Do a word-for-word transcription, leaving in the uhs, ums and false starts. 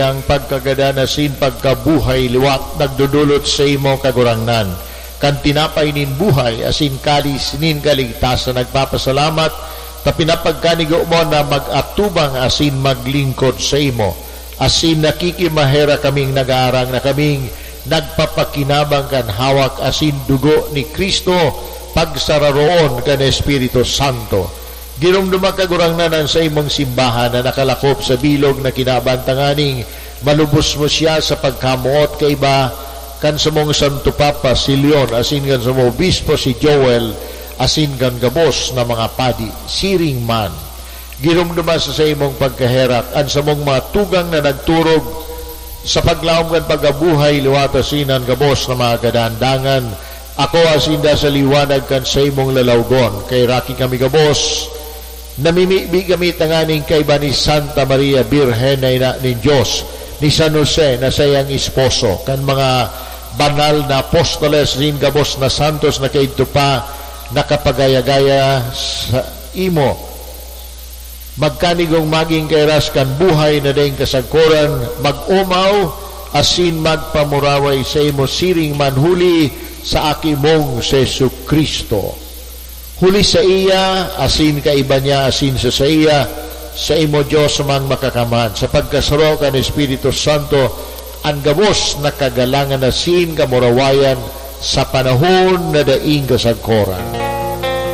Ang pagkagadan asin pagkabuhay liwat nagdodolot saimo, Kagurangnan, kan tinapay nin buhay asin kalis nin kaligtasan. Nagpapasalamat ta pinapagkanigo mo na mag-atubang asin maglingkod saimo. Asin nakikimaherak kaming nag-aarang na kaming nagpapakinabang kan hawak asin dugo ni Cristo, pagsararoon kan Espiritu Santo. Giromdoma, Kagurangnan, an saimong simbahan na nakalakop sa bilog na kinaban tanganing malubos mo siya sa pagkamoot kaiba kan samong Santo Papa si Leon, asin kan samong Obispo si Joel, asin kan gabos na mga padi. Siring man, giromdoma sa saimong pagkaherak an samong mga tugang na nagturog sa paglaom kan pagkabuhay liwat asin an gabos na mga kadandangan. Ako asin da sa liwanag kan saimong lalawgon. Kaheraki kami gabos. Namimibi kami tanganing kaiba ni Santa Maria Birhen na ina nin Dios, ni San Jose na saiyang esposo, kan mga banal na apostoles, nin gabos na santos na kaidto pa nakapagaya-gaya sa imo. Magkanigong magin kairas kan buhay na daing kasagkoran, mag-omaw asin magpamuraway saimo siring man huli sa Aki mong si Jesu-Cristo. Huli saiya, asin kaiba niya, asin sa saiya, saimo, Dios, mang Makakamhan, sa pagkasaro kan Espiritu Santo, an gabos na kagalangan asin kamurawayan sa panahon na daing kasagkoran.